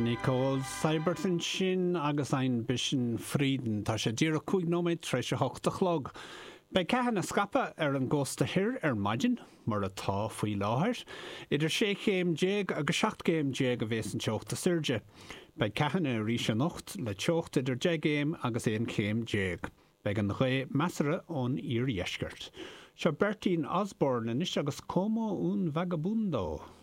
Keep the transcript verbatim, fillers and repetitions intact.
Nicole Seibert ansin agus Ein bisschen Frieden. Tá sé díreach cúig nóiméad tar éis a hocht a chlog. Beidh ceathanna scaipthe ar an gcósta thoir ar maidin, mar atá faoi láthair. Idir sé chéim déag agus seacht gcéim déag a bheas an teocht is airde. Beidh ceathanna arís anocht le teocht idir deich gcéim agus aon chéim déag. Beidh an ghaoth measartha ón iardheisceart. Seo Bertine Osborne anois agus Como un Vagabundo.